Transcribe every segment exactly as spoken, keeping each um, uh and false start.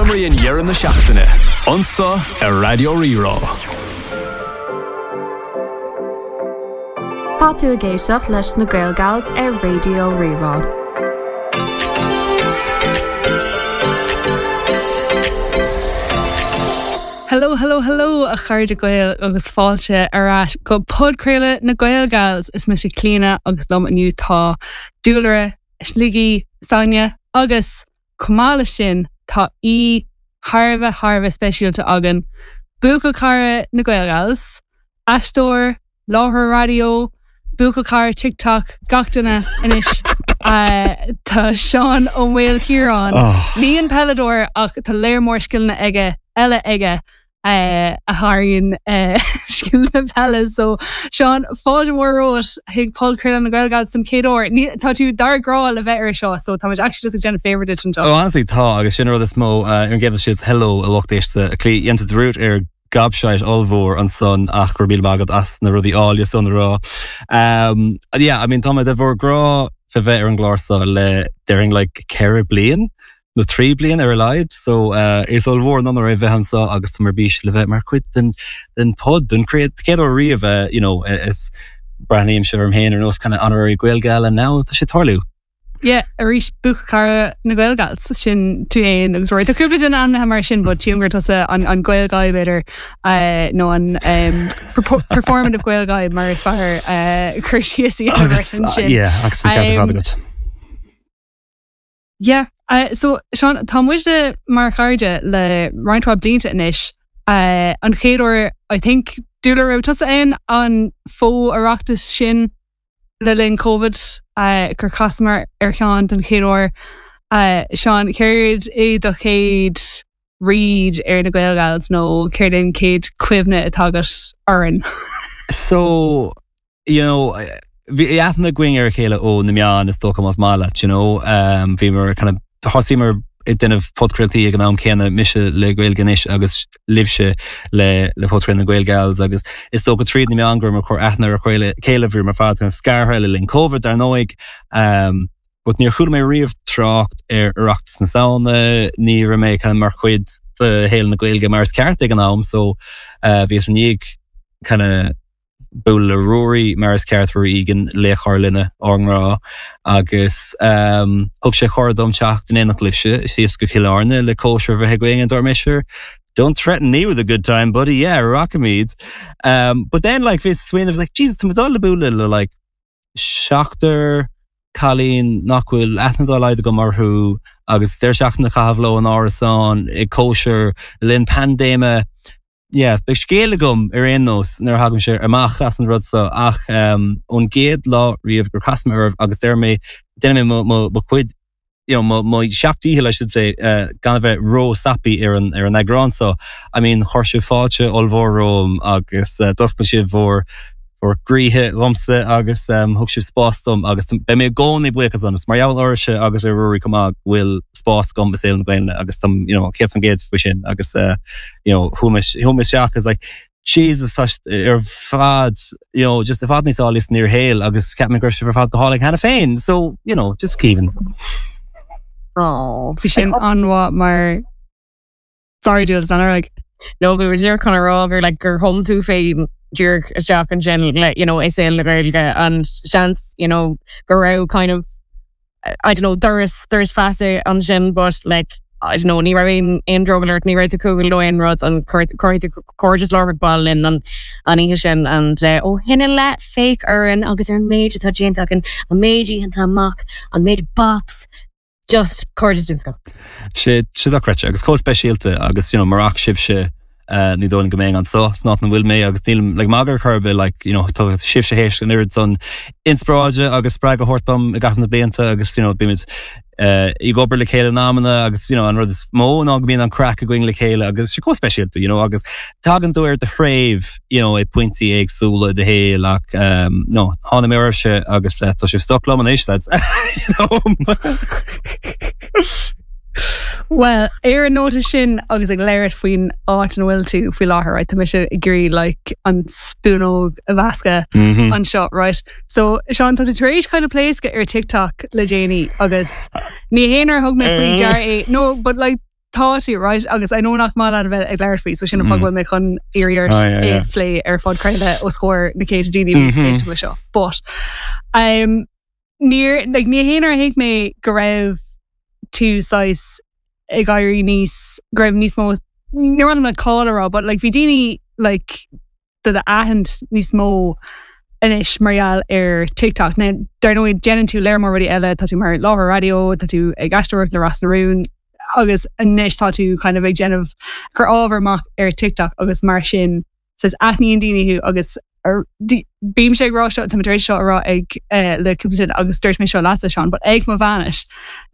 Fuaimrian dheireadh na seachtaine, anseo ar Raidió Rí-Rá. Tá tú ag éisteacht leis na Gaelgals ar Raidió Rí-Rá. Hello, hello, hello a chairde Gael agus fáilte ar ais go podchraoladh na Gaelgals. Is mise Clíona agus liom inniu tá Dúlra, Sligí, Sonia agus chomh maith leis sin tá aoi thar a bheith thar a bheith speisialta againn, buachaill cara na Gaelgals, aisteoir, láithreoir raidió, buachaill cara TikTok, gach duine anois. Tá Seán Ó Maoilchiaráin. Ní an peileadóir ach tá léar mór scileanna aige eile aige a sháraíonn scileanna peile. So Seán, fáilte mhór romhat chuig podchraoladh na Gaelgals den chéad uair. Tá tú dár gcrá le bheith ar seo, so tá muid actually just ag déanamh favour duit anseo. Oh honestly tá agus sin an rud is mó ar an gcéad dul síos hello a lucht éiste Clí dhein tú dearúd ar gobshite ollmhór ansan ach go raibh míle maith agat as na rudaí áille san a rá. Um, yeah, I mean tá mé de bhur gcrá fé bheith ar an gclár seo le déarfainn like ceithre bliain nó trí bliain ar a laghad so uh, is ollmhór an onóir é bheith anseo agus tá mé ar bís le bheith mar chuid den den pod den chéad chéad uair riamh uh, you know is breathnaímse orm féin ar nós kind of honorary Gaelgal and now tá sé ag tarlú. Yeah, arís buachaill cara na Gaelgals sin tú féin agus Rory. Tá cúpla duine ainmnithe mar sin, but tchím gur tusa an, an Gael guy b'fhéidir uh, nó an um, performative Gael guy mar is fearr uh, cur síos a dhéanamh Agus ar sin. yeah, agus an ceart ar fad Um, agat. Yeah, uh, so Seán tá muide mar chairde le roinnt mhaith blianta anois. Uh, an chéad uair I think Dúlra raibh tusa ann an fo-Oireachtas sin le linn COVID uh, gur chasamar ar Sheán den chéad uair. Uh, Seán céard é do chéad read ar na Gaelgals nó céard an chéad chuimhne atá agat orainn. So, you know, bhí aithne againn ar a chéile ó na meáin is dócha más maith leat, you know, um, bhíomar kind of thosaíomar ag déanamh podchraoltaí ag an am céanna mise le Gaeilge Anois agus libhse le le podchraoladh na Gaelgals agus is dócha tríd na meáin go rabhamar ag cur aithne ar a chéile chéile bhíomar ar fad kind of scartha le linn COVID dar ndóigh um, but níor chuala mé riamh trácht ar Oireachtas na Samhna, ní raibh mé kind of mar chuid de shaol na Gaeilge mar is ceart ag an am, so uh, bhíos i ndiaidh kind of bualadh le Ruairí mar is ceart Ruairí Egan laoch ár linne ár ngrá agus um, thug sé cuireadh dom teacht in éineacht libhse síos go Cill Airne le cóisir bheith againn and dúirt mé sure Don't threaten me with a good time, buddy. Yeah, rachaimid. Um, but then like bhí swing, I was like, Jesus, tá mé dul le bualadh le like seachtar cailín nach bhfuil aithne dá laghad agam orthu agus deireadh seachtaine a chaitheamh leo in árasán ag cóisir le linn paindéime. Yeah, beidh scéal agam ar aon nós nuair a thagaimse amach as an rud seo ach um, ón gcéad lá riamh gur chas mé oraibh agus deir mé déanfaidh mé mo, mo, mo chuid you know, mo, mo sheacht ndícheall I should say uh, gan a bheith ró-sappy ar an ar an eagrán so I mean chuir sibh fáilte ollmhór romham agus uh, d'oscail sibh bhur bhur gcroíthe dhomsa agus um, thug sibh spás dom agus beidh mé i gcónaí buíoch as an mar gheall oraibhse agus ar Ruairí chomh maith go bhfuil spás agam i saol na Gaeilge agus tam you know, céad faoin gcéad faoi sin agus uh, you know, chuaigh mé chuaigh mé isteach is like Jesus tá ar fad you know, just i bhfad níos áille san fhíorshaol agus cheap mé go raibh sibh ar fad go hálainn cheana féin so you know, just Kevin. Oh, bhí sin an-mhaith mar Sorry Jules, an like No, bhí muid chun a rá gur like gur thum tú féin díreach isteach ansin le you know i saol na Gaeilge and seans you know go raibh kind of I don't know doras doras feasa ansin but like I don't know ní raibh aon aon drogall ort ní raibh tú cúl nó aon rud an chuir tú cairdeas láithreach ball linn an an oíche sin and uh, ó shin i leith féach orainn agus ar an méid atá déanta againn an méid oícheanta amach an méid bops just cairdeas den scoth. sé sé dochreidte agus chomh speisialta agus you know, murach sibhse uh, ní dóigh go mbeinn anseo san áit ina bhfuil mé agus níl like, magadh ar chor ar bith like, you know, tá sibhse théis an oiread san inspioráide agus spreagadh a thabhairt dom i gcaitheamh na blianta agus you know, bímid uh, ag obair le chéile in amanna agus you know, an rud is mó ná go mbíonn an craic againn le chéile agus sé chomh speisialta you know, agus tagann tú ar do threibh you know, ag pointí éagsúla i do shaol ach um, no, tháinig mé oraibhse agus uh, tá sibh stuck liom anois lads. you know? Well, ar an nóta sin agus ag labhairt faoin áit ina bhfuil tú faoi láthair, right? Tá mise ag iarraidh like, an spúnóg a mheascadh mm -hmm. anseo, right? So Seán tá tú tar éis kind of pléascadh ar TikTok le déanaí agus ní haon ar thug mé faoi deara é. No, but like tá tú right agus I know nach maith leat a bheith ag labhairt faoi so sin an fáth go bhfuil mé chun iarraidh Ah, yeah, yeah. é phlé ar phodchraoladh os comhair na céadta daoine mm -hmm. le seo. But um, níor like, ní haon ar thuig mé go raibh tú saghas ag éirí níos go raibh níos mó ní ran le cáil rá, but like bhí daoine like do d'aithint níos mó anois mar gheall ar TikTok. Now, dar ndóigh déanann tú léir mór rudaí eile tá tú mar láithreoir raidió, tá tú ag aisteoireacht le Ros na Rún, agus anois tá tú kind of ag déanamh cur ábhar amach ar TikTok agus mar sin says aithníonn daoine thú agus ar- di- bím sé ag rá seo tá tar éis seo a rá ag eh, le cúpla duine agus dúirt mé seo leatsa Seán, but ag mo bhainis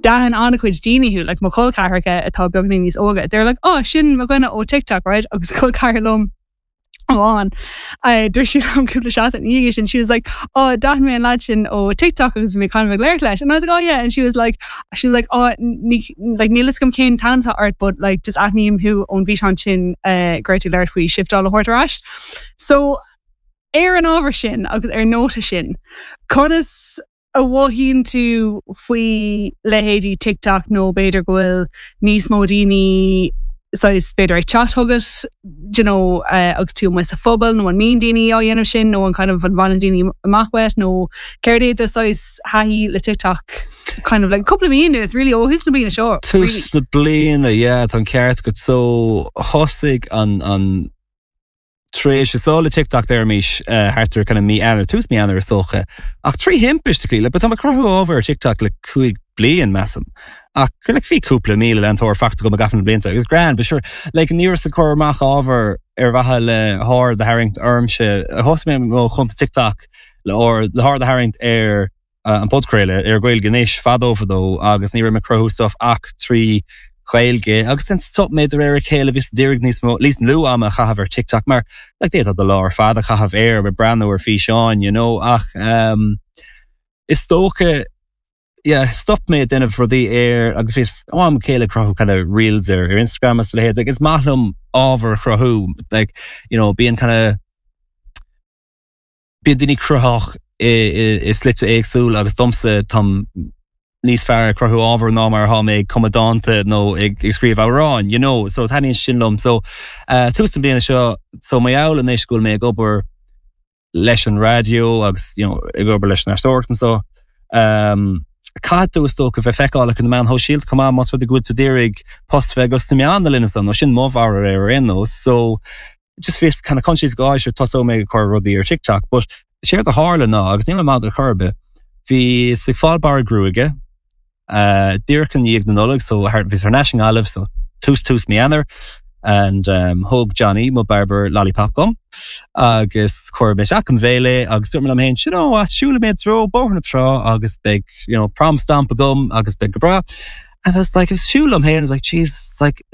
d'aithin an-chuid daoine thú like mo chol ceathracha atá beagáinín níos óige. They're like, oh sin mo dhuine ó TikTok, right? agus col ceathrar liom amháin. Uh, Dúirt sí liom cúpla seachtain ina dhiaidh sin she was like oh d'aithin mé an lad sin ó TikTok agus bhí mé kind of ag labhairt leis and I was like oh yeah and she was like she was like oh ní like níl a fhios agam cén t-ainm atá ort but like just aithním thú ón bhfíseán sin uh, go raibh tú ag labhairt faoi shifteáil a thabhairt ar ais. So ar an ábhar sin agus ar nóta sin conas a mhothaíonn tú faoi leithéidí TikTok nó b'fhéidir go bhfuil níos mó daoine saghas b'fhéidir ag teacht chugat you know, uh, agus tú amuigh sa phobal nó an mbíonn daoine á dhéanamh sin nó an kind of an bhaineann daoine amach uait nó céard é do saghas taithí le TikTok kind of like cúpla mí is really ó thús na bliana seo really. Tús na bliana yeah, tá an ceart agat so thosaigh an an tréimhse seo le TikTok deirmís uh, thart ar kind of mí Eanáir tús mí Eanáir is dócha ach trí thimpiste le, but tá mé ag cruthú ábhar ar TikTok le cúig bliain measaim. Ach gur like, bhí cúpla míle leantóir faighte agam i gcaitheamh na blianta agus grand, but sure like ní raibh ag cur amach ábhar ar mhaithe le haird a tharraingt ormse thosaigh mé mo chuntas TikTok le or le haird a tharraingt ar uh, an podchraoladh ar Gaeilge Anois fadó fadó agus ní raibh mé ag cruthú stuff ach trí Ghaeilge agus then stop mé de réir a chéile bhíos d'iarraidh níos mó níos lú ama a chaitheamh ar TikTok mar like d'fhéadfá do lá ar fad a chaitheamh air ag breathnú ar físeáin you know ach um, is dócha yeah, stop mé déanamh rudaí air agus bhíos am chéile cruthú kind of reels ar ar Instagram is leithéid like, is maith liom ábhar a chruthú like you know bíonn kind of bíonn daoine cruthaitheach i, i, i slite éagsúil agus domsa táim níos fearr ag cruthú ábhar ná mar atá mé ag cumadh dánta nó ag ag scríobh amhráin, you know, so taitníonn sin liom so uh, tús na bliana seo so mar gheall anois go bhfuil mé ag obair leis an raidió agus you know, ag obair leis an aisteoireacht and so um, caithfidh tú is dócha bheith feiceálach ar na meáin shóisialta chomh maith más rud é go bhfuil tú d'iarraidh post bheith agat sna meáin na linne nó sin mo bharúil ar aon nós so just bhíos kind of conscious go sure tosóidh mé ag cur rudaí ar TikTok, but séard a tharla ná agus níl mé ag magadh chor ar bith. Bhíos ag fáil bearradh gruaige uh, díreach i ndiaidh na Nollag so bhíos thar n-ais i nGaillimh so tús tús mí Eanáir and um, thóg Johnny mo barber lollipop dom agus chuir mé isteach im bhéal é agus dúirt mé liom féin you know what siúlfaidh mé i dtreo Bóthar na Trá agus beidh you know prom stomp agam agus beidh go breá and I was like ag siúl liom féin I was like Jesus like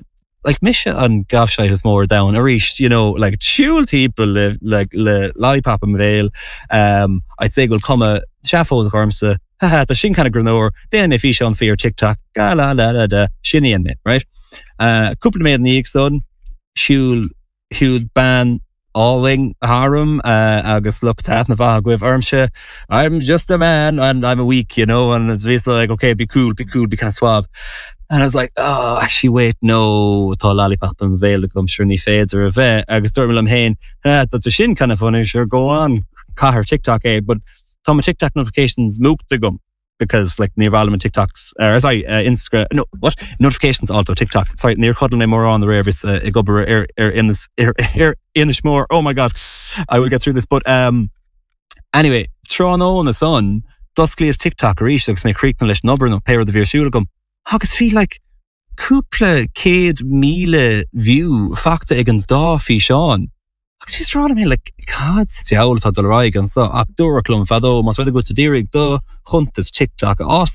like mise an gobshite is mó ar domhan arís you know like siúl timpeall le like le lollipop im bhéal um I'd say go bhfuil cuma seafóideach ormsa haha tá sin kind of greannmhar déanfaidh mé físeán faoi ar TikTok ga la la la da sin í mé right uh cúpla nóiméad ina dhiaidh san siúil shiúil bean álainn tharam uh, agus lucht taitnimh agaibh ormse I'm just a man and I'm a weak you know and it's basically like okay be cool be cool be kind of suave and I was like oh actually wait no tá lollipop im bhéal agam sure ní féidir a bheith agus dúirt mé liom féin ah, tá sin kind of funny sure go on cuir ar TikTok é but tá my TikTok notifications múchta agam because like níor mhaith liom TikToks uh, sorry uh, Instagram no what notifications also TikTok sorry níor chodlail mé mórán aréir bhíos uh, ag obair ar ar Inis ar ar Inis Mór oh my god I will get through this but um anyway tráthnóna san d'osclaíos TikTok arís agus mé críochnaithe leis an obair nó pé rud a bhí ar siúl agam agus bhí like cúpla céad míle view faighte ag an dá físeán. Agus bhíos ag rá mé le cad sa diabhal atá ag dul ar aghaidh anseo ach dúradh liom fadó más rud é go bhfuil tú d'iarraidh do chuntas TikTok a fhás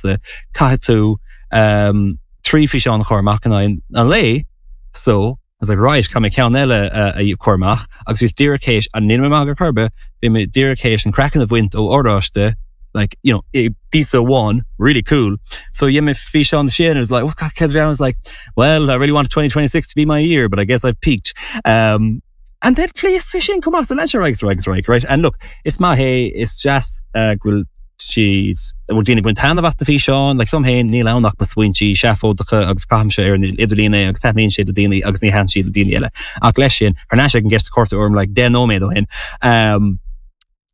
caithfidh tú um, trí físeán a chur amach in aghaidh an lae so I was like right caithfidh mé ceann eile uh, a chur amach agus bhíos díreach théis an níl mé ag magadh chor ar bith bhí mé díreach théis an craiceann a bhaint ó oráiste like you know a piece of one really cool so dhein mé físeán sin it was like oh, God, I was like well I really want twenty twenty-six to be my year but I guess I've peaked um, and then phléasc sin chomh maith so leis right right right right and look is maith é is deas uh, go bhfuil siad bhfuil daoine ag baint taitneamh as na físeáin, like dom féin níl ann ach mo smaointí seafóideacha agus caithimse ar an idirlíon é agus taitníonn sé le daoine agus ní thaitníonn siad le daoine eile. Ach leis sin, thar n-ais ag an gceist a chuir tú orm like deich nóiméad ó shin. Um,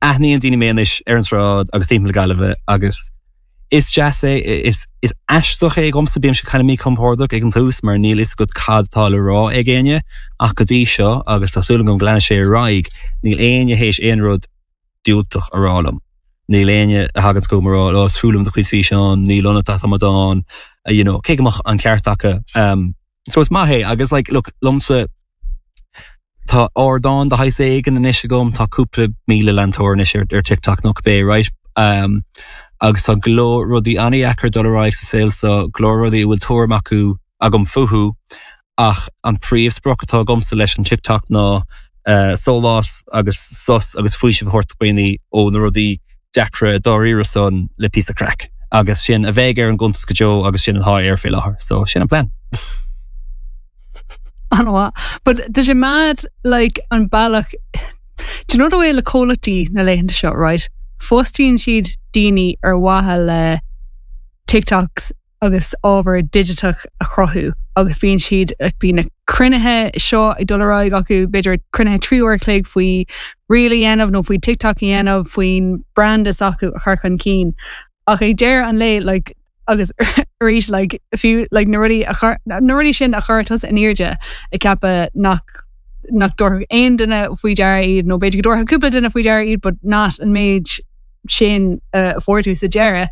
aithníonn daoine mé anois ar an sráid agus timpeall na Gaillimhe agus is deas é is is aisteach é dhomsa bímse kind of míchompordach ag an tús mar níl fhios agat cad tá le rá ag éinne ach go dtí seo agus tá súil agam go leanfaidh sé ar aghaidh níl éinne théis aon rud diúltach a rá liom. Níl éinne a thagann chugam ag rá ó is fuath liom do chuid físeán níl ionat ach amadán you know, cé go mbeadh an ceart acu. Um, so is maith é agus like, look, liomsa tá ardán de shaghas éigin anois agam tá cúpla míle leantóir anois ar, ar TikTok nó cibé right? Um, agus tá go leor rudaí an-deacair dul ar aghaidh sa saol so go leor rudaí a bhfuil tuairim acu agam fúthu ach an príomhsprioc atá agamsa leis an TikTok ná uh, sólás agus sos agus faoiseamh a thabhairt daoine ó na rudaí deacra dáiríre san le píosa craic. Agus sin a bheidh ar an gcuntas go deo agus sin atá air fé láthair, so sin an plean. An-mhaith. But tá sé mad like an bealach Do you know the way le comhlachtaí na laethanta seo, right? Fostaíonn siad daoine ar mhaithe le TikToks agus ábhar digiteach a chruthú agus bíonn siad ag bíonn na cruinnithe seo ag dul ar aghaidh acu b'fhéidir cruinnithe trí uair chloig faoi reel a dhéanamh nó faoi TikTok a dhéanamh faoin brand is acu a chur chun cinn. Ach ag deireadh an lae like, agus arís like, fiú like, na rudaí a chur na rudaí sin a chur tusa in airde ag ceapadh nach nach dtabharfadh aon duine faoi deara iad nó b'fhéidir go dtabharfadh cúpla duine faoi deara iad, but not an méid sin uh, fuair tú sa deireadh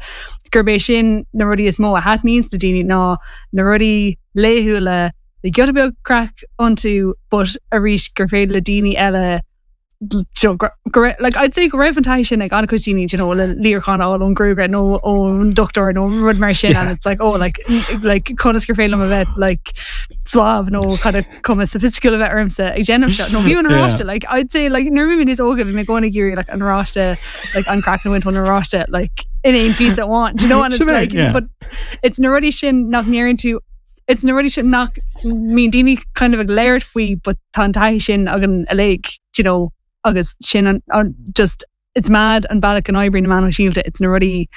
gurb é sin na rudaí is mó a thaitníonn le daoine ná na rudaí laethúla le giota beag craic iontu but arís gur féidir le daoine eile go go like I'd say go raibh an taithí sin ag an-chuid daoine you know le líreachán ón gruagaire nó ón dochtúir nó rud mar sin and it's like oh like like conas gur féidir liom a bheith like suave nó kind of cuma sophisticated a bheith ormsa ag déanamh seo nó bhí an oráiste like I'd say like nuair bhí mé níos óige bhí mé gona géirí like an oráiste like an craiceann bhaint ón oráiste like in aon piece amháin do you know and it's like yeah. but it's na rudaí sin nach ndéarann tú it's na rudaí sin nach mbíonn daoine kind of ag labhairt faoi but tá an taithí sin againn uilig you know agus sin an, an just it's mad an bealach an oibríonn na meáin shóisialta it's na rudaí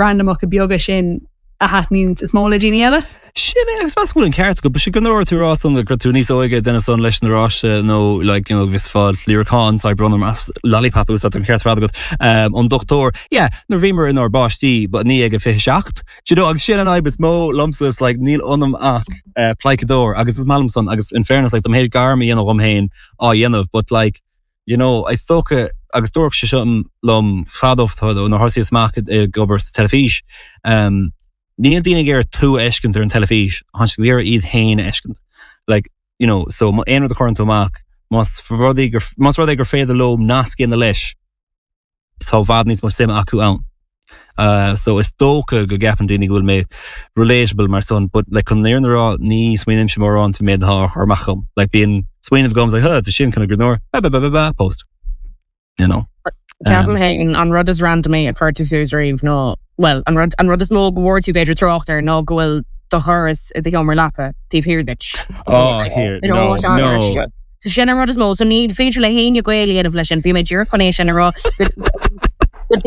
randomacha beaga sin a thaitníonn is mó le daoine eile. Sin é agus meas bhfuil an ceart go sé go nóir tú rá san gur tú níos óige duine san leis an oráiste nó like, you know, bhí fáil líreachán sa bronnam as lollipop úsáid an ceart agat um, an dochtúir. Yeah, nuair a bhíomar inár bpáistí, but ní ag a fiche seacht. Do you know, agus sin an fhadhb is mó liomsa is like, níl ionam ach uh, pleidhceadóir agus is maith liom san agus in fairness like, dom héis gairm a dhéanamh dhom féin á dhéanamh, but like, you know, is dócha agus dúirt sé seo liom fadó ó nuair thosaíos amach ag obair sa teilifís. Um, Níl daoine ag iarraidh tú a fheiscint ar an teilifís, tá siad ag iarraidh iad féin a fheiscint. Like, you know, so aon rud a chuireann tú amach, más rud é gur más rud é gur féidir leo nasc a dhéanamh leis, tá i bhfad níos mó suime acu ann. Uh, so is dócha go gceapann daoine go bhfuil mé relatable mar son, but like chun an fhírinne a rá ní smaoinímse mórán faoin méid atá á chur amach agam. Like bíonn smaoineamh agam like, huh, tá sin kind of greannmhar, ba ba ba ba ba post. You know. Ceapaim féin an rud is randamaí a chuir tú suas riamh nó well an rud an rud is mó go bhfuair tú b'fhéidir trácht air ná go bhfuil do dhoras i do sheomra leapa taobh thiar duit. Oh, here, no, no. So sin an rud is mó, so ní féidir le héinne gaol a dhéanamh leis sin, bhí mé díreach chun é sin a rá go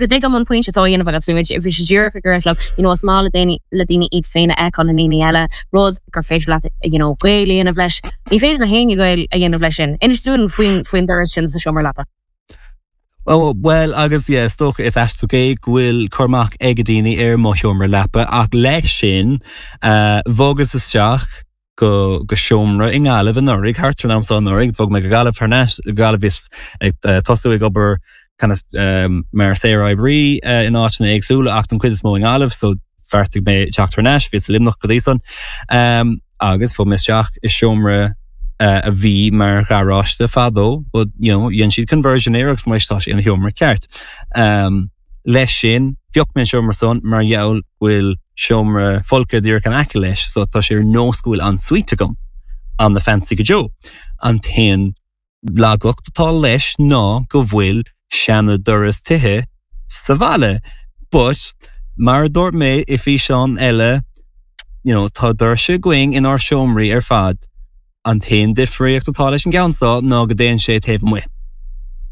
dtuigim an pointe atá dhéanamh agus bhí bhí sé díreach ag rá you know, is maith le daoine le daoine iad féin a fheiceáil i ndaoine eile rud gur féidir leat you know, gaol a dhéanamh leis. Ní féidir le héinne gaol a dhéanamh leis sin. Inis dúinn faoin faoin doras sin sa seomra leapa. Oh, well agus yeah, is dócha is aisteach é go bhfuil cur amach ag daoine ar mo sheomra leapa ach leis sin uh, bhogas isteach go go seomra i nGaillimh anuraidh thart ar an am seo anuraidh, bhog mé go Gaillimh thar n-ais Gaillimh is ag uh, tosú ag obair kind of, um, mar saoroibrí uh, in áiteanna éagsúla ach an chuid is mó i nGaillimh, so bheartaigh mé teacht thar n-ais, bhíos i Luimneach go dtí san. Um, agus bhog mé isteach i seomra uh, a bhí mar gharáiste fadó, but you know, dhein siad conversion air agus anois tá sé ina sheomra ceart. Um, leis sin, phioc mé an seomra san mar gheall go bhfuil seomra folctha díreach in aice leis, so tá sé ar nós go bhfuil ensuite agam an na fancy go deo. An t-aon laigeacht atá leis ná go bhfuil seana doras tithe sa bhalla. But mar a dúirt mé i físeán eile, you know, tá doirse againn inár seomraí ar fad. An t-aon difríocht atá leis an gceann seo ná go dtéann sé taobh amuigh.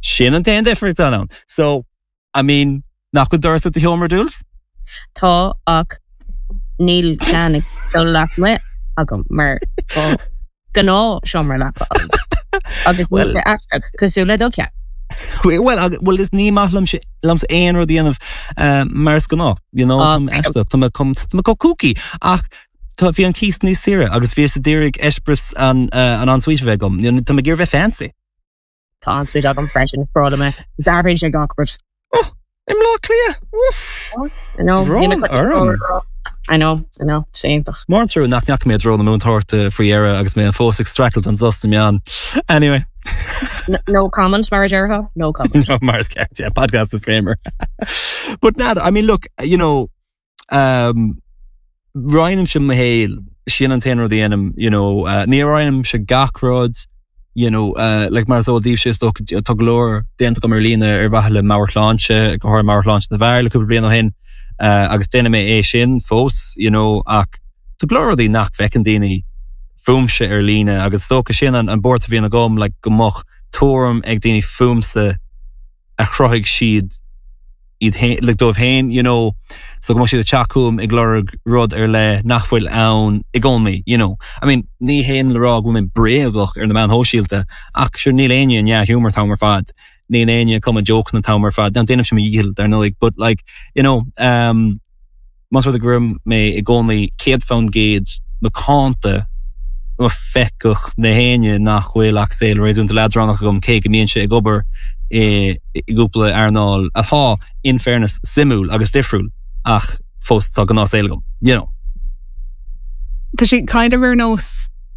Sin an t-aon difríocht ann. So, I mean, Nach bhfuil doras i do sheomra Dúils? Tá ach níl ceann ag dul lasmuigh agam mar gnáth seomra leapa agus Well- aisteach cosúil le do cheann. Well well is ní maith liom liomsa aon rud a dhéanamh uh, mar is gnáth you know Ah, aisteach tá tá go kooky ach tá bhí an cíos níos saoire agus bhíos ag iarraidh eispéireas an uh, an ensuite bheith agam You know, Tá mé ag iarraidh bheith fancy. Tá ensuite agam freisin frála mé d'athraíonn sé gach rud. I mBleá Cliath. Uff. I know. Brón orm. I know, I know, séantach. Mór trú nach neach mé dro na múntáirta faoi dheireadh agus mé an fós ag streachailt an sos na meán. Anyway. No comment mar a déarfá? No comment. no, mar is ceart, yeah, podcast disclaimer. but now, I mean, look, you know, um, roinnimse mo shaol sin an t-aon rud a dhéanaim, you know, uh, ní roinnimse gach rud, you know, uh, like mar is eol daoibhse tá go leor déanta agam ar líne ar mhaithe le meabhairshláinte go háirithe meabhairshláinte na bhfear le cúpla bliain ó shin uh, agus déanaim é sin fós, you know, ach tá go leor rudaí nach bhfeiceann daoine fúmse ar líne agus dócha sin an, an buairt a bhíonn agam like, go mbeadh tuairim ag daoine fúmsa a chruthaigh siad iad féin like dóibh féin you know so go siad teachúm ag lorg rud ar le nach bhfuil ann i gcónaí you know I mean ní haon le rá go bhfuil mé bréagach ar na meáin shóisialta ach sure níl éinne dea-ghiúmar an t-am ar fad níl éinne cum joke an t-am ar fad dan déanaim sin dhícheall dar ndóigh but like you know um Más rud go raibh mé i gcónaí céad faoin gcéad macánta ma fecuch na héine nach bhfuil ach saol réasúnta leadránach agam cé go mbíonn sé ag obair i i gcúpla earnáil atá in fairness suimiúil agus difriúil ach fós tá gnáthshaol agam you know. Tá sé kind of ar nós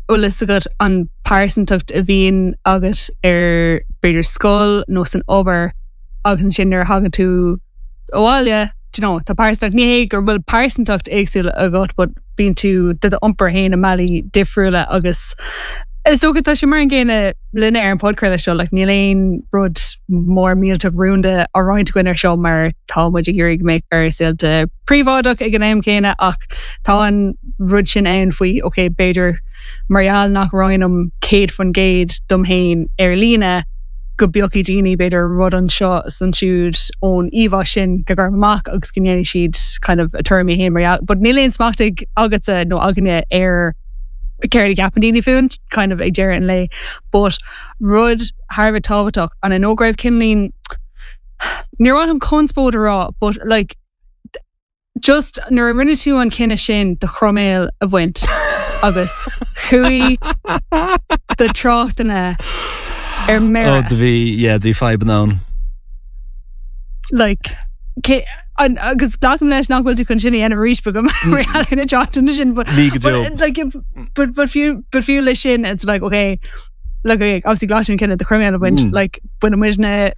bhfuil fhios agat an pearsantacht a bhíonn agat ar b'fhéidir scoil nó san obair agus ansin nuair a thagann tú abhaile do you know, tá pearsantacht ní hé gur bhfuil pearsantacht éagsúil agat but bíonn tú do d'iompar féin i mbealaí difriúla agus is dócha tá sé mar an gcéanna linne ar an podchraoladh seo like, níl aon rud mór millteach rúnda á roinnt againn ar seo mar tá muid ag iarraidh mé ar saolta príobháideach ag an am céanna ach tá an rud sin ann faoi ok b'fhéidir mar gheall nach roinnim céad faoin gcéad dom féin ar líne go bpiocfaidh daoine b'fhéidir rud anseo is ansiúd ón íomhá sin go gur amach agus go ndéanfaidh siad kind of a tuairimí féin mar gheall. But níl aon smacht ag agatsa nó againne ar céard a cheapann daoine fúinn kind of ag deireadh an lae. But rud thar a bheith tábhachtach an an ógraibh cinlín níor an conspóid a rá, but like just nuair a rinne tú an cinneadh sin do chroiméal a bhaint agus chuaigh do tráchtanna ar Oh mire do bhí yeah, do bhí fadhb ann. like cé an agus glacaim leis nach bhfuil tú chun sin a dhéanamh arís go na tráchtanna sin but Ní go deo. but, like but but fiú but fiú leis sin it's like okay like okay, obviously glac an cinneadh do chroiméal a bhaint Mm. like bhain muidne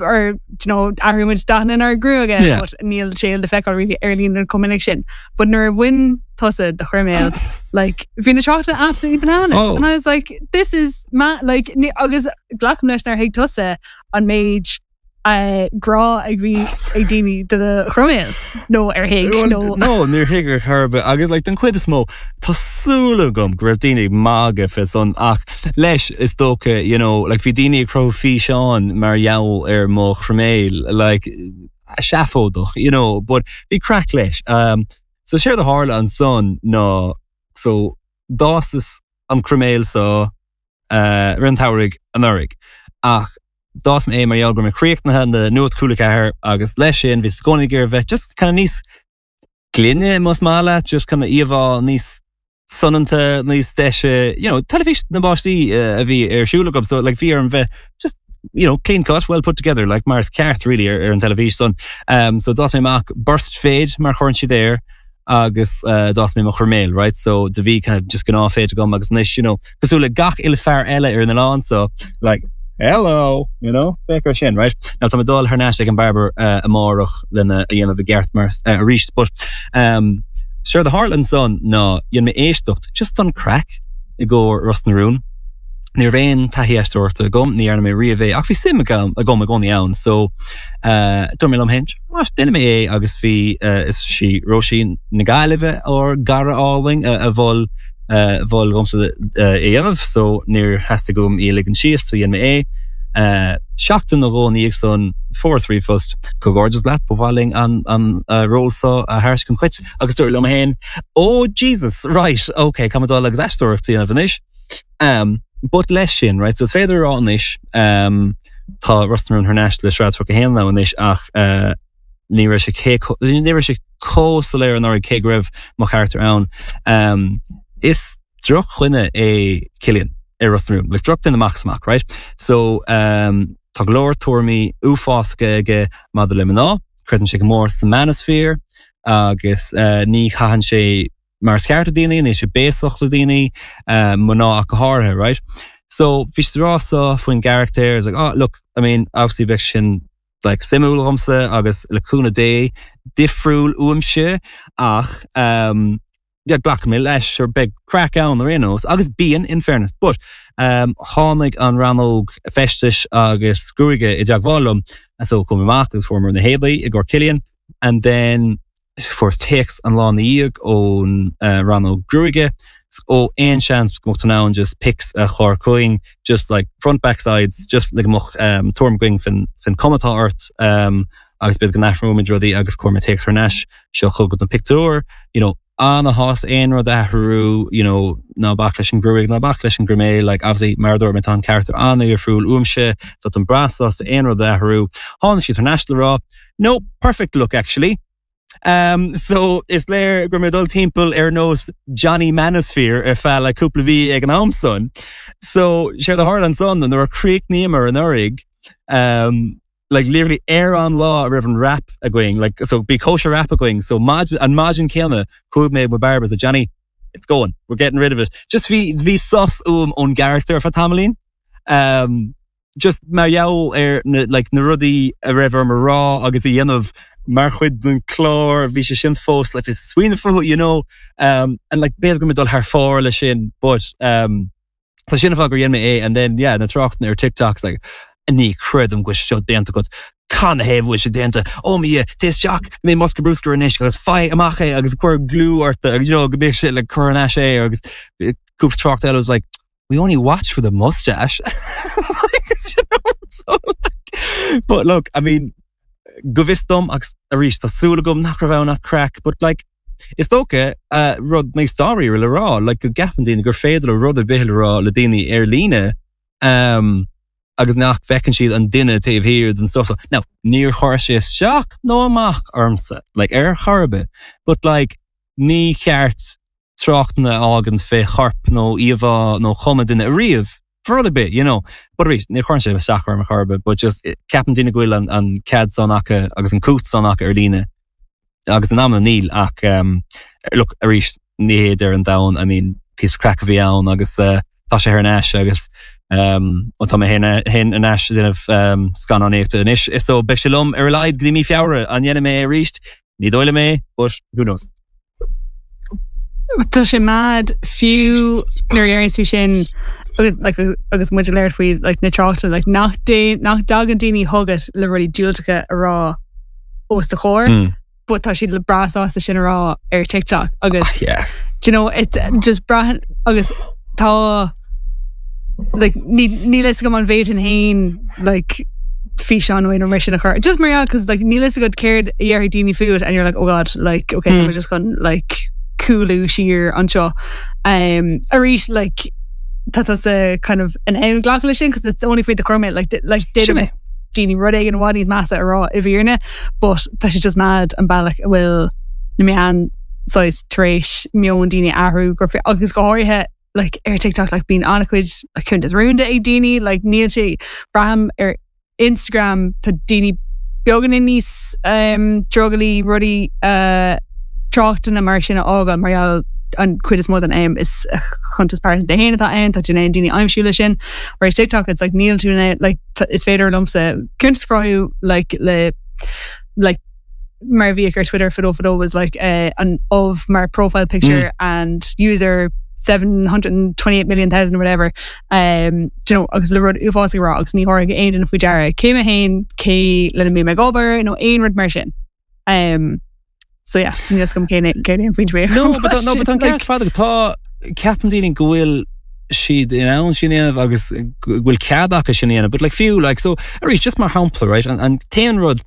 or you know athraigh muid dathanna inár gruaige Yeah. but níl sé le feiceáil really ar líne an cominic sin but nuair a bhain tusa do chroiméal like bhí na tráchtanna absolutely bananas Oh. and I was like this is ma like ní- agus glacaim leis nár thuig tusa an méid uh, grá ag bhí ag daoine do do chroiméal nó ar thuig Well, nó No, níor thuig ar chor agus like, den chuid is mó tá súil agam go raibh daoine ag magadh fé san ach leis is dócha you know, like, bhí daoine ag cruthú físeán mar gheall ar mo chroiméal like, seafóideach, you know, but bhí craic leis. Um, so séard a tharla ansan ná so d'fhás an croiméal so uh, rin tairig an urig ach d'fhás mé é mar gheall go mé críochnaithe na Nuacht Cúla Ceathair agus leis sin bhí gcónaí gur bheith just kind of níos glaine más maith leat, just kind of íomhá níos soineanta níos deise you know, teilifís na bpáistí uh, a bhí ar siúl agam so like bhí orm bheith just you know, clean cut, well put together, like mar is ceart really ar, ar an teilifís son. Um, so d'fhás mé amach burst fade mar chuireann siad air agus uh, d'fhás mé mo chroiméal, right? So do bhí kind of just gnáth fade agam agus anois, you know, cosúil le gach uile fear eile ar an oileán so like hello, you know, féach ar sin, right? Now tá mé dul thar n-ais ag an barber uh, amárach lena a dhéanamh i gceart mar uh, arís, but um, séard a tharla ansan ná dhein mé éisteacht just an craic i gcomhair Ros na Rún. Ní raibh aon taithí aisteoireachta agam, ní dhearna mé riamh é ach bhí suim agam agam i gcónaí ann, so uh, dúirt mé liom féin, déanfaidh mé é agus bhí uh, is sí Róisín na Gaillimhe ár gcara álainn a, a mhol uh, mhol dhomsa uh, é dhéanamh, so níor theastaigh uaim í a ligean síos, so dhein mé é. Uh, seachtain nó dhó ina dhiaidh san fuaireas ríomhphost comhghairdeas leat ba mhaith linn an an uh, ról seo a thairiscint duit agus dúirt liom féin oh Jesus right okay tá dul agus aisteoireacht a dhéanamh anois um, but leis sin right so is féidir rá anois um, tá Ros na Rún thar n-ais le sraith tríocha haon anois ach uh, ní raibh sé ní raibh sé chomh soiléir anuraidh cé go raibh mo charachtar ann um, is drochdhuine é Cillian ar Ros na Rún, like drochdhuine amach is amach, right? So um, tá go leor tuairimí uafásacha aige maidir le mná, creideann sé go mór sa manosphere agus uh, ní chaitheann sé mar is ceart le daoine, níl sé béasach le daoine uh, mná ach go háirithe, right? So bhí rá so faoin gcarachtar is like, oh, look, I mean, obviously beidh sin like suimiúil dhomsa agus le cúnamh Dé difriúil uaimse ach um, yeah, glacfaidh mé leis or beidh craic ann ar aon nós agus bíonn in fairness but um, tháinig an rannóg feistis agus gruaige i dteagmháil liom so chuaigh mé amach agus fuair na héadaí i gcomhair Cillian and then fuaireas téacs an lá ina dhiaidh ón uh, rannóg gruaige ó aon seans go mbeadh ann just pics a chur chugainn just like front back sides just like mo um, tuairim againn faoin faoin chuma atá ort um, agus b'fhéidir go n-athróimid rudaí agus chuir mé téacs thar n-ais seo chugat an pictiúr you know an-shásta aon rud a athrú you know ná bac leis an gruaig ná bac leis an ngreamú like obviously mar dúirt mé tá an charachtar an-difriúil uaimse so táim breá sásta aon rud a athrú tháinig siad thar n-ais le rá no perfect look actually Um, so is léir go mé dul timpeall ar nós Johnny Manosphere ar feadh le cúpla mhí ag an am san. So sé a tharla ansan nuair a chríochnaíomar anuraidh um, like literally ar an lá a raibh an wrap againn like so bhí cóisir wrap againn so maidin an maidin céanna chuaigh mé with barbers a Johnny it's going we're getting rid of it just bhí bhí sos uaim ón gcarachtar ar feadh tamaillín um, just mar gheall ar na like na rudaí a raibh orm a rá agus a dhéanamh mar chuid den chlár bhí sé sin fós le fios smaoineamh fúthu you know um, and like b'fhéidir go mé dul thar fóir le sin but um, so sin an fáth gur dhein mé é and then yeah na tráchtanna ar TikToks like ní chreidim go bhfuil seo déanta agat Can heh bhfuil sé déanta ó mi té Jack mé mosca brúscar anois agus faigh amach é agus cuir glue ort agus you know, go mbeidh sé le cur ais é agus cúpla trácht eile was like we only watch for the mustache you know, so, like, but look I mean go bhfios dom agus arís tá súil agam nach raibh ann ach craic but like is dócha uh, rud níos dáiríre le rá like go gceapann daoine gur féidir le rud ar bith le rá le daoine ar líne um, agus nach bhfeiceann siad an duine taobh thiar den stuff. Now, níor chuir sé isteach nó amach ormsa, like ar chor ar bith, but like ní ceart tráchtanna a fhágaint fé chorp nó íomhá nó chuma duine ariamh for other bit, you know. But arís ní chuireann sé isteach orm ar chor ar bith, but just ceapann daoine go bhfuil an, an cead san acu agus an cumhacht san acu ar líne agus in am níl ach um, look arís ní hé ar an domhan, I mean píosa craic a bhí ann agus uh, tá sé thar n-ais agus um, ó tá mé féin ar ais ag déanamh um, scannánaíochta anois is so beidh sé liom ar a laghad go dtí mí Feabhra an ndéanfaidh mé arís ní dóigh liom é but who knows. Tá sé mad fiú nuair a deireann tú sin agus like, agus muid ag labhairt faoi like, na tráchtanna like, nach dé nach dtagann daoine chugat le rudaí diúltacha a rá os do chomhair, Mm. but tá siad le breá sásta sin a rá ar TikTok agus Oh, yeah. do you know it just brath agus tá like ní ní leis go an bhéit an hain like físeán nó mar sin a chur just mar cause like níl a fhios agat céard a dhéarfaidh daoine fút and you're like oh god like okay mm. just gonna like cúlú siar anseo um arís like tá tá kind of an an glacadh leis sin cause it's only faoi the chormé like like Sin é. daoine rud éigin i bhfad níos measa a rá i bhfírinne but tá sé just mad an bealach a bhfuil na meáin saghas tar éis meon daoine athrú gur fe- agus go háirithe like ar TikTok like bíonn an-chuid like cuntas rúnda ag daoine like níl sé braithim ar Instagram tá daoine beagáinín níos um, drogalaí rudaí uh, tráchtanna mar sin a fhágáil mar gheall an chuid is mó den am is uh, chuntas pearsanta féin atá ann tá aon daoine aimsiú le sin whereas TikTok it's like níl tú in like is féidir liomsa cuntas a chruthú like le like mar bhí ar Twitter fadó fadó was like uh, an of mar profile picture mm. and user seven hundred and twenty eight million thousand or whatever um do you know agus le rud uafásach rá agus ní thabharfaidh aon duine faoi deara cé mé féin cé lena mbím ag obair nó aon rud mar sin um so yeah níl agam cé cé an faoin No, but no, but an ceart fad tá ceapann daoine go bhfuil siad in ann sin a dhéanamh agus go bhfuil cead acu sin a dhéanamh, but like fiú like so arís just mar shampla right an, an t-aon rud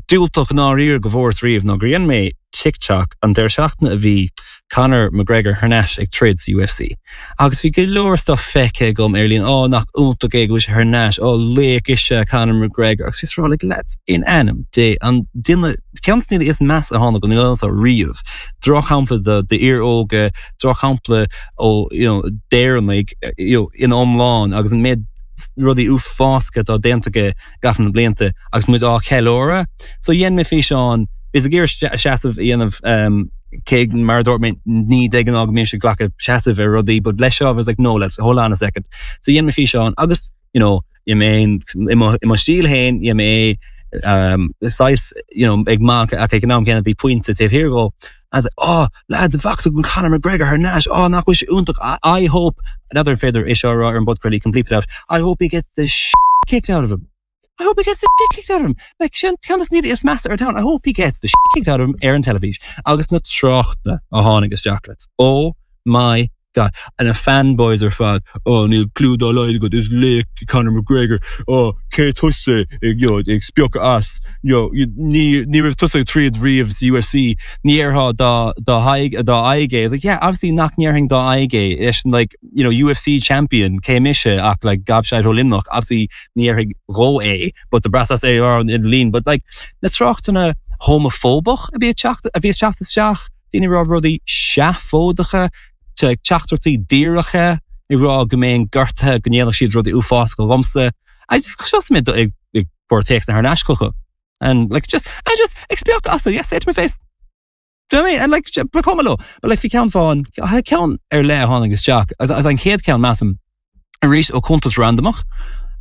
diúltach ndáiríre go bhfuaireas riamh ná gur dhein mé TikTok an deireadh seachtaine a bhí Conor McGregor thar n-ais ag troid sa UFC. Agus bhí go leor stuff feicthe agam ar líne ó nach iontach é go bhfuil sé thar n-ais ó laoch is ea Conor McGregor agus bhíos ag rá like lads in ainm Dé an duine ceann de na daoine is measa a tháinig an oileán seo riamh. Drochshampla do d'fhir óga, drochshampla ó you know d'Éireannaigh you know in iomlán agus an méid rudaí uafásacha atá déanta aige i gcaitheamh na blianta agus muid á cheiliúradh. So dhein mé físeán bhíos ag iarraidh seasamh a dhéanamh um, cé mar a dúirt mé ní de ghnáth go mbímse ag glacadh seasamh ar rudaí, but leis seo I was like no let's hold on a second. So dhein mé físeán agus you know i mé i mo stíl féin dhein mé um, saghas you know ag magadh ach ag an am céanna bhí pointe taobh thiar dhó. I was like, oh, lads, bhfaca tú Conor McGregor thar n-ais, oh, nach bhfuil sé iontach. I, I hope, another féidir é seo a rá ar an bpodchraoladh, can bleep it out, I hope he gets the sh kicked out of him. I hope he gets the shit kicked out of him. Like sin ceann de na nithe is measa ar domhan. I hope he gets the shit kicked out of him ar an teilifís. Agus na tráchtanna a tháinig isteach lads. Oh my God. And na fanboys ar fad. Oh, níl clue dá laghad agat is laoch Conor McGregor. Oh, cé tusa ag you know, ag spiocadh as. You know, ní ní raibh tusa ag troid riamh sa UFC. Ní déarfá dá dá aghaidh dá aghaidh é. It's like, yeah, obviously nach ndéarfainn dá aghaidh é. Is like, you know, UFC champion cé mise ach like gobshite ó Luimneach. Obviously ní déarfainn dhó é, but the brass as é ar an lín. But like, na tráchtanna homafóbach a bhí teacht a bhí teacht isteach, daoine rá rudaí seafóideacha, teachtaireachtaí díreacha ag rá go mbeinn gortaithe go ndéanfadh siad rudaí uafásacha dhomsa. I just just mé ag ag cur téacs thar n-ais chucu. And like just I just ag spiocadh astu, yes, say it to my face. Do you know what I mean? And like ba chuma leo. But like bhí ceann fáin ceann ar leith a tháinig isteach agus an chéad ceann measaim arís ó cuntas randamach.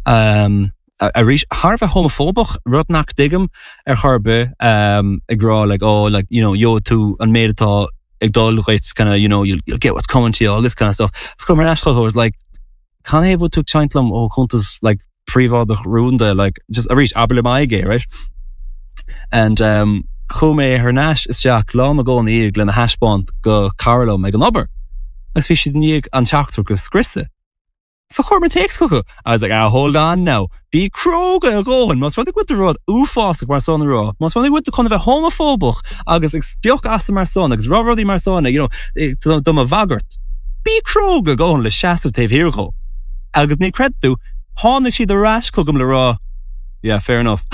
Um, arís thar a bheith homafóbach rud nach dtuigim ar chor ar bith um, ag rá like oh like you know gheobhaidh tú an méid atá ag dul dhuit kind of you know you'll, you'll get what's coming to you all this kind of stuff. Is mar ais was like can é tú caint liom ó chuntas like príobháideach rúnda like just arís abair le m'aghaidh é right? And um, chuaigh mé thar n-ais isteach lá na gcónaí lena thaispeáint go cara liom ag an obair. Agus bhí siad i ndiaidh an teachtaireacht a scriosadh. So chuir mé téacs chucu. I was like, ah, hold on now. Bí cróga a dhóthain, más rud é go bhfuil rud uafásach mar san a rá. Más rud é go bhfuil tú chun a bheith homafóbach agus ag spiocadh asam mar san agus rá rudaí mar san, you know, do mo bhagairt. Bí cróga a dhóthain le seasamh taobh thiar dhó. Agus ní chreid tú, tháinig siad ar ais chugam le rá. Yeah, fair enough.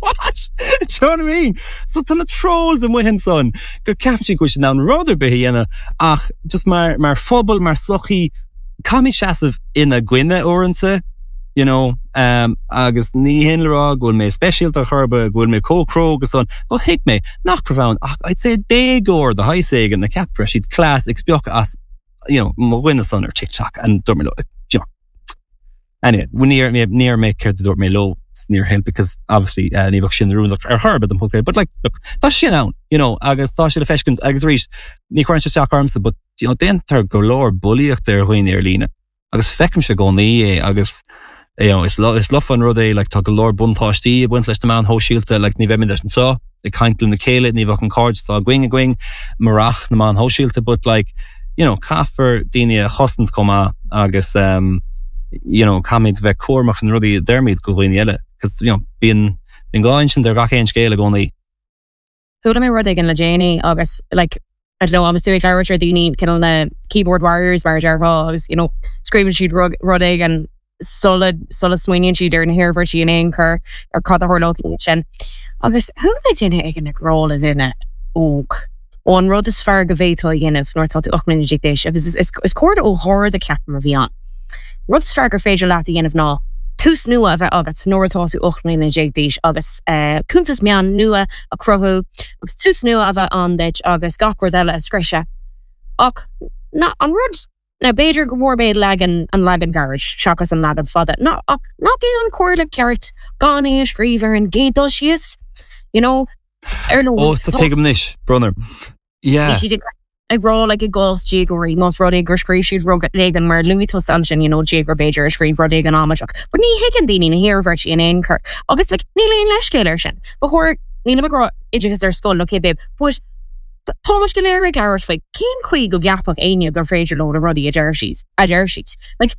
What? Do you know what I mean? So tá na trolls amuigh ansan go ceapann siad go bhfuil siad in ann rud ar bith a dhéanamh ach just mar mar phobal mar sochaí caithfimid seasamh ina gcoinne uaireanta you know um, agus ní hin le rá go bhfuil mé speisialta chor ar bith go bhfuil mé chomh cróga san ó thuig mé nach raibh ann ach I'd say déagóir de shaghas éigin a cheap go raibh siad class ag spiocadh as you know, mo dhuine san ar TikTok and dúirt mé leo, you know. Anyway, níor níor mé céard a dúirt mé leo níor hin because obviously uh, ní bheadh sin oiriúnach ar chor ar bith don podchraoladh, but like look, tá sin ann, you know, agus tá sé le feiscint agus arís ní chuireann sé isteach ormsa, but you know, déantar go leor bulaíocht ar dhaoine ar líne. Agus feicimse i gcónaí é agus you know, is lo, is lofa an rud é like, tá go leor buntáistí ag baint leis na meáin shóisialta like, ní bheimid anseo ag caint lena chéile ní bheadh an cairdeas atá againn againn murach na meáin shóisialta, but like, you know, caithfear daoine a chosaint chomh maith agus um, you know, caithfimid bheith cúramach na rudaí a deirimid go dhaoine eile, cos you know, bíonn bíonn dhá intinn ar gach aon scéal i gcónaí. Chuala mé rud éigin le déanaí agus like I don't know agus tú ag labhairt ar daoine cineál na keyboard warriors mar a déarfá agus you know scríobhann siad rud rud éigin sula sula smaoiníonn siad ar na hiarmhairtí in aon chor ar cad a tharlódh sin. Agus chuala mé duine éigin ag rá le duine óg ó an rud is fearr go bhféadfá a dhéanamh nuair atá tú ocht mbliana déag d'aois agus is is comhairle ó Gharda ceapaim a bhí ann. Rud is fearr gur féidir leat a dhéanamh ná tús nua a bheith agat nuair atá tú ocht mbliana déag d'aois agus uh, cuntas meán nua a chruthú agus tús nua a bheith ann duit agus gach rud eile a scriosadh. Ach na an rud na b'fhéidir go bhfuair mé leagan an leagan gairid seachas an leagan fada. Na ach nach é an chomhairle ceart gan é a scríobh ar an gcéad dul síos, you know, ar nó Ó, sa tuigim anois, brother. Yeah. siad ag ag rá like i gcás déagóirí más rud é gur scríobh siad rud éigin mar luaigh tusa ansin you know déagóir b'fhéidir a scríobh rud éigin amaideach. But ní thuigeann daoine na hiarmhairtí in aon chor agus like níl aon leithscéal air sin. Ba chóir níl ag rá oideachas ar scoil okay babe, but Tá go léir ag labhairt faoi cén chaoi go gceapfadh éinne gur féidir leo na rudaí a deir siad a deir siad. Like,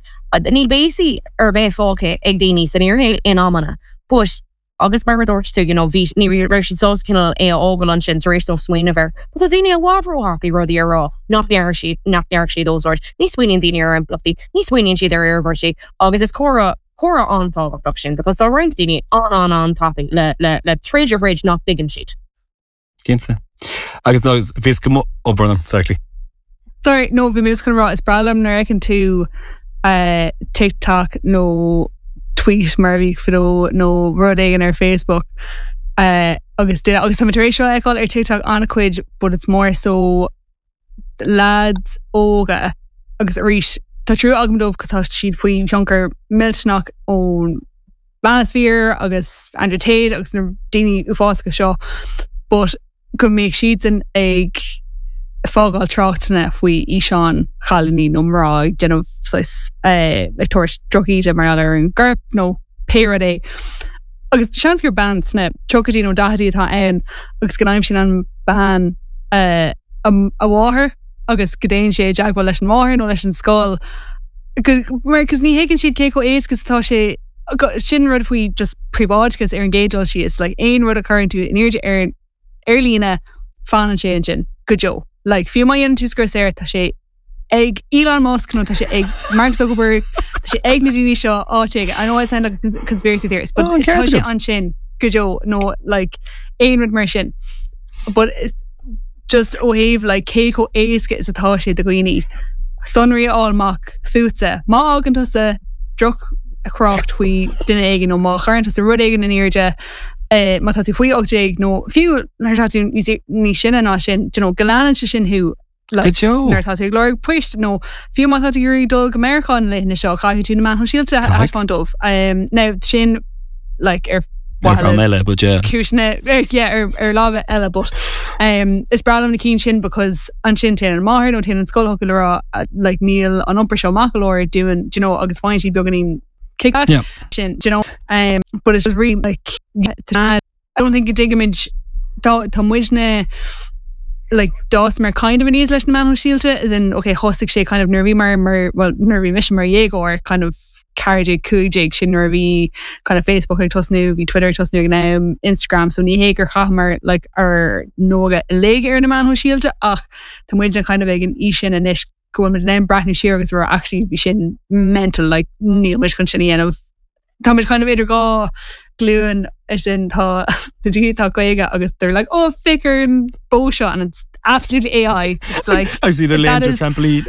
níl béasaí ar bith fágtha ag daoine san fhíorshaol in amanna, but agus mar dúirt tú you know, bhí ní raibh siad sásta cineál é a fhágáil ansin tar éis dóibh smaoineamh air. But tá daoine i bhfad róthapaidh rudaí a rá nach ndeir siad nach ndeir siad ósort. Ní smaoiníonn daoine ar impleachtaí, ní smaoiníonn siad ar iarmhairtí agus is comhrá comhrá an-tábhachtach sin, because tá roinnt daoine an an an-tapaidh le le le tríd ar thríd nach dtuigeann siad. Cinnte. Agus no bhís go obrna exactly. Sorry, no bhí mé chun rá is breá liom nuair a fheiceann tú uh, TikTok nó tweet mar bhí fadó nó rud éigin ar Facebook uh, agus de, agus tá tar éis seo a fheiceáil ar TikTok an-chuid but it's more so lads óga agus arís tá trua agam dóibh cos tá siad faoi thionchar millteanach ón manosphere agus Andrew Tate agus na daoine uafásacha seo but go mbeidh siadsan ag fágáil tráchtanna faoi fhíseáin chailíní nó mná ag déanamh eh, ag tabhairt drochíde mar ar an gcorp nó pé rud é. Agus seans gur bean sna tríochaidí nó daichidí atá ann agus go n-aimsíonn an bean uh, a mháthair agus go dtéann sé i dteagmháil leis an máthair nó leis an scoil. Mar cos ní thuigeann siad cé chomh éasca atá sé sin rud faoi just príobháideachas ar an gcéad dul síos like aon rud a chuireann tú in airde ar ar líne fanann sé ansin go deo. Like fiú má dhéanann tú scrios air tá sé ag Elon Musk nó tá sé ag Mark Zuckerberg tá sé ag na daoine seo áit éigin. I know I sound like a conspiracy theorist, but Oh, an tá ceart sé agat. ansin go deo nó like aon rud mar sin. But it's just ó thaobh like cé chomh éasca is atá sé do dhaoine. Sonraí a fháil amach fútsa. Má fhágann tusa drochthrácht faoi duine éigin nó má chuireann tusa rud éigin in airde eh, má tá tú faoi ocht déag nó fiú nuair atá tú níos níos sine ná sin, you know, go leanann sé sin thú like, Go deo. nuair atá tú ag lorg poist nó fiú má tá tú ag iarraidh dul go Meiriceá na laethanta seo caithfidh tú na meáin shóisialta a thaispeáint dóibh. Um, now sin like ar Ar an eile, but yeah. cúiseanna ar yeah, ar ar lámha eile but um, is breá liom na cinn sin because ansin téann an máthair nó téann an scoil chucu le rá uh, like níl an iompar seo maith go leor dúinn do you know agus faigheann siad beagáinín kickback Yeah. sin do you know um, but it's just really like yeah, I don't think go dtuigimid tá tá muidne like d'fhás mar kind of aníos leis na meáin shóisialta as in okay thosaigh sé kind of nuair a bhí mar mar well nuair a bhí mise mar dhéagóir kind of ceathair déag cúig déag sin nuair a bhí kind of Facebook ag tosnú bhí Twitter ag tosnú ag an am Instagram so ní hé gur chaitheamar like ár n-óige uilig ar na meáin shóisialta ach tá muid an kind of ag an aois sin anois go bhfuil muid in ann breathnú siar agus rá actually bhí sin mental like níl muid chun sin a dhéanamh Tá muid kind of idir dhá ghlúin is sin tá na daoine atá caoga agus they're like oh féach ar an bó seo and it's absolutely AI it's like I see the that land is- trampoline.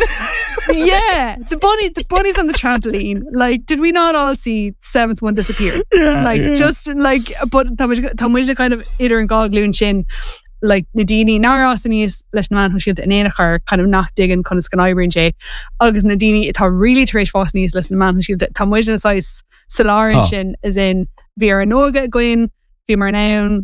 yeah the bunny the bunny's on the trampoline like did we not all see seventh one disappear Yeah, like yeah. just like but tá muid tá muid kind of idir an dhá ghlúin sin like na daoine nár fhás aníos leis na meáin shóisialta in aon chor kind of nach dtuigeann conas go n-oibríonn sé agus na daoine atá really tar éis fás aníos leis na meáin shóisialta tá muid ina saghas sa lár Tá. sin is in bhí ár n-óige againn bhí mar ann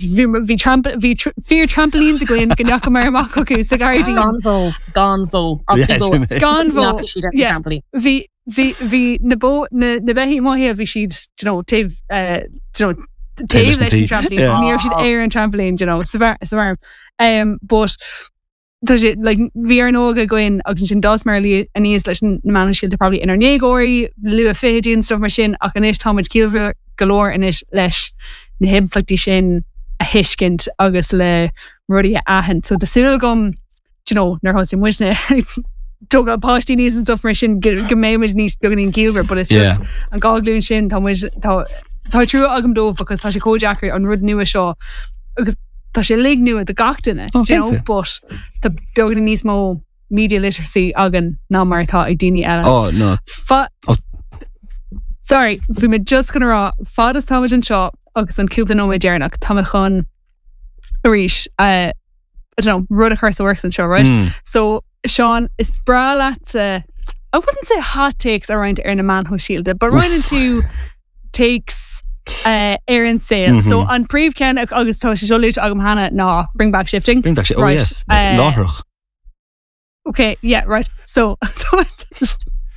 bhí bhí tramp bhí tr fíor trampolines againn go ndeachamar amach chucu sa ghairdín Gan bhó gan bhó Yeah, sin é. gan bhó yeah. trampoline. bhí bhí bhí na bó na na beithígh maithe bhí siad you know taobh uh, you know taobh leis an leis an tí. trampoline Yeah. ní raibh siad ar an trampoline you know sa bhar sa bhar um but tá sé like bhí ár n-óige againn agus sin d'fhásmar aníos leis na meáin shóisialta probably inár ndéagóirí luath fichidí and stuff mar sin ach anois táimid ciallmhar go leor anois leis na himpleachtaí sin a thuiscint agus le rudaí a aithint so tá súil agam you know nuair thosaigh muidne tógáil páistí níos and stuff mar sin go go mbeimid níos beagáinín ciallmhar but it's just an dhá ghlúin sin tá muid tá tá trua agam dóibh because tá sé chomh deacair an rud nua seo agus tá sé uilig nua do gach duine Oh, you know, cinnte. but tá beagáinín níos mó media literacy againn ná mar atá ag daoine eile. Oh no. Fa Oh. Sorry, bhí mé just gonna rá fad is táimid anseo agus an cúpla nóiméad deireanach tá mé chun arís uh, I don't know, rud a chur sa works anseo, right? Mm. So Sean is breá leat uh, I wouldn't say hot takes around ar na meáin shóisialta, but roinnt tú takes uh, ar an saol. So Mhm. an príomhcheann agus tá sé seo luaite agam cheana ná bring back shifting. Bring back shit. Oh Right, yes. uh, Láithreach. Okay, yeah, right. So